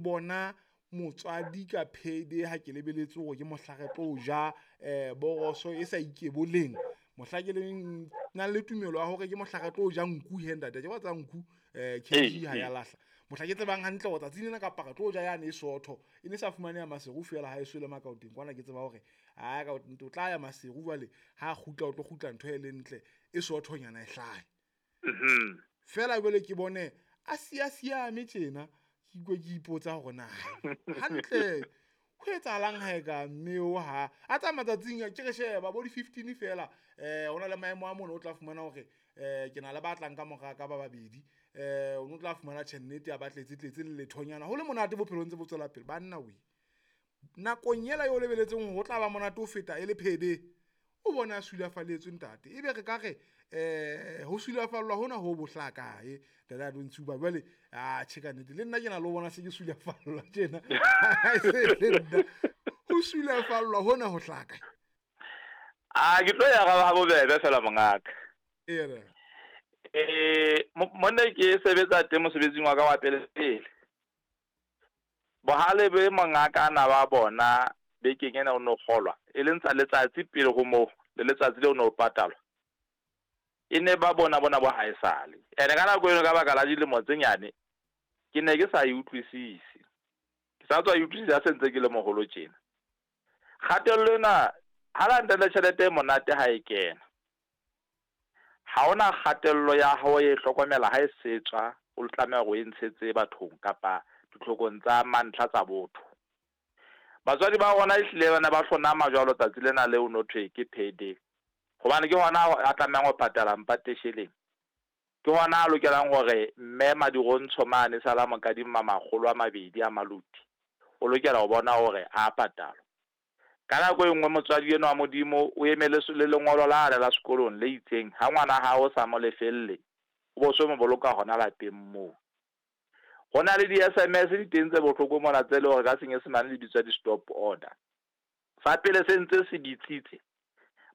Bona motswadi ka phede ha ke lebeletse hore ke mohla re tlo ja boroso e sa ikeboleng, mohla ke leng nang le tumelo ya hore ke mohla re tlo ja nku he ntate, ke wa tseba nku KG ha ya lahla. Mohla ke tsebang hantle hore tsatsing lena kapa re tlo ja yane e sootho, e ne sa fumaneha Maseru feela ha eso le Makaoteng kwana, ke tseba hore aa ka o tla ya Maseru jwale ha kgutla o tlo kgutla ntho e le ntle e soothonyana e hlahe. Feela jwale ke bone a siya siame tjena, ke ikwe ke ipotsa hore na hantle ho etsahalang ha e ka mme o ha a tsa matsatsing a ke re sheba bo di 15 feela. Hona le maemo a mona o tla fumana hore ke na le ba tlang ka mora ka ba babedi, o no tla fumana tjhe nnete ya ba tletse tletse le lethonyana ho le monate bophelong ntse bo tswela pele. Banna we nakong ela eo lebeletseng ho tla ba monate ho feta e le phede, o bona a sulafalletswe ntate. Ebe re ka re ho sulafallwa hona ho bohlaka e ntate a Ntsi ba jwale a tjhe ka nnete le nna ke na le ho bona se ke sulafallwa tjena se le nna ho sulafallwa hona ho hlaka. A ke tlo ya ha bobebe fela mongaka. Ee. Monna ke sebetsa teng mosebetsing wa ka wa pele pele. Bohale be mongaka ana ba bona bekeng ena o no kgolwa e leng tsa letsatsi pele ho moo le letsatsi leo no patalwa, e ne ba bona bona bo haesale. Ene ka nako eno ka baka la dilemo tse nyane ke ne ke sa e utlwisise, ke sa tswa e utlwisisa se ntse ke le moholo tjena. Kgatello ena ha la ntle le tjhelete e monate ha e kena, ha hona kgatello ya hao e hlokomela ha e setswa o tlameha hore o e ntshetse bathong kapa ditlhokong tsa mantlha tsa botho. Batswadi ba rona ehlile bana ba hlonama jwalo tsatsi lena leo no thwe ke payday, hobane ke hona a tlamehang ho patala mpatesheleng, ke hona a lokelang hore mme Madirontsho mane sala mokadima 200 a maluti, o lokela ho bona hore a patalwa. Ka nako e nngwe motswadi enwa wa Modimo o emele le lengolo la la sekolong le itseng, ha ngwana hao sa mo lefelle o bo so mo boloka hona lapeng moo. Ho na le di-SMS di teng tse bohloko mona tse leng hore ka senyesemane di bitswa di-stop order. Sa pele se ntse se bitsitse,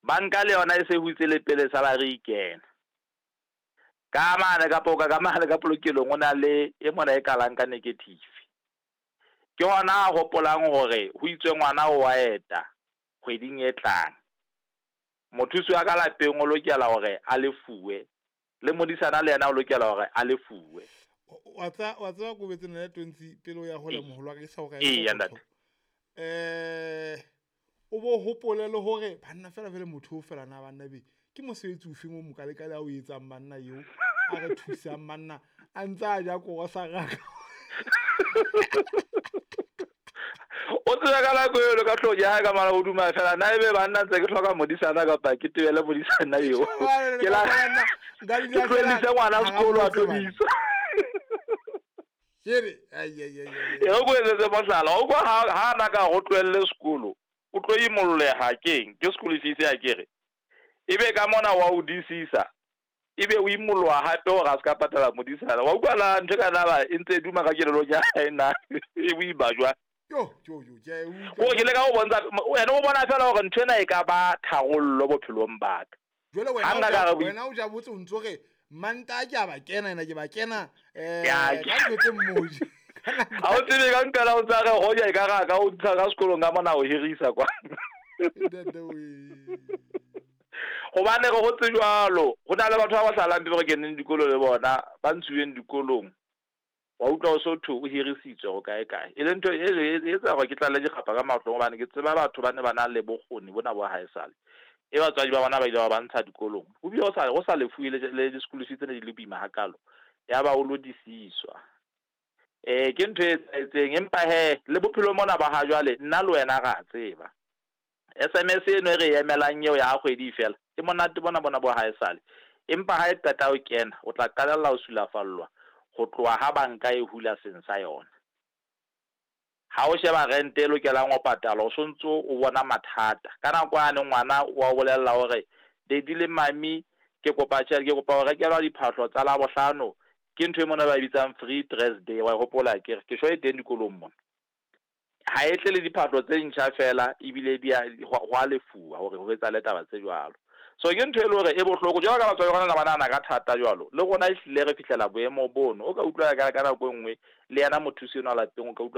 banka le yona e se hutse le pele salary e kena. Ka mane kapa ka mane ka polokelong o na le e mona e kalang ka negative. Ke hona a hopolang hore ho itswe ngwana o wa eta kgweding e tlang. Mothusi wa ka lapeng o lokela hore a lefuwe, le modisana le yena o lokela hore a lefuwe. Wa tseba kobetse nna 20 pele o ya hole moholo wa ka ke sa hore o bo hopole le hore banna fela fela motho o fela na banna be ke mosebetsi o feng o mokalekale a o etsang banna eo a re thusang banna a ntse a ja koro sa raka. O tseba ka nako eo ka hlooho ya hae ka mala hoduma fela na ebe banna ntse ke hloka modisana kapa ke tebele modisana eo. Ke la ke tlohellise ngwana sekolo a tlo bisa. Kere ai ai ai. E re ko etsetse mohlala, o kwa ha na ka go tlohelle sekolo, o tlo imolleha keng? Ke school fees ya kere. Ebe ka mona wa o disisa, ebe o imoloha hape hore a se ka patala modisana. Wa utlwa na ntho ka naba e ntse e duma ka kelellong ya hae na e boima jwang? Yo yo yo ke a e utlwa. O ke leka ho bontsha wena o bona fela hore ntho ena e ka ba tharollo bophelong ba ka. Jwale wena o ja botse o ntso re Manta ke a ba kena ena ke ba kena ka ntho tse mmoji. Ha o tsebe ka nkela o tsa re hoja e ka ra ka o ntsha ka sekolong ka mona o hirisa kwa. Hobane re hotse jwalo, ho na le batho ba ba salang pele re keneng dikolo le bona, ba ntshuweng dikolong. Wa utlwa o so thwe o hirisitswe ho kae kae. E le ntho e etsa hore ke tlale dikgapa ka mahlong hobane ke tseba batho ba ne ba na le bokgoni bona bo haesale. E batswadi ba bona ba ile ba ba ntsha dikolong. Ho bile ho sa lefuwe le di-school fees tse ne di le boima hakalo. Ya ba o lo disiswa. Ke ntho e etsahetseng empa he le bophelo mona ba ha jwale nna le wena ra tseba. SMS eno e re emelang eo ya kgwedi fela e monate bona bona bo haesale. Empa ha e qeta ho kena o tla qalella ho sulafallwa ho tloha ha banka e hula seng sa yona. Ha o sheba rent e lokelang ho patala o sontso o bona mathata. Ka nako yane ngwana wa o bolella hore daddy le mami ke kopa tjhelete, ke kopa ho rekelwa diphahlo tsa Labohlano. Ke ntho e mona ba e bitsang free dress day, wa e hopola akere? Ke sure e teng dikolong mona. Ha e tle le diphahlo tse ntjha fela ebile di a ho a lefuwa hore ho etsahale taba tse jwalo. So ke ntho e le hore e bohloko jwalo ka batswadi ba rona ba nahana ka thata jwalo. Le rona ehlile re fihlela boemo bono. O ka utlwa ka nako e nngwe le yena mothusi enwa lapeng o ka utlwa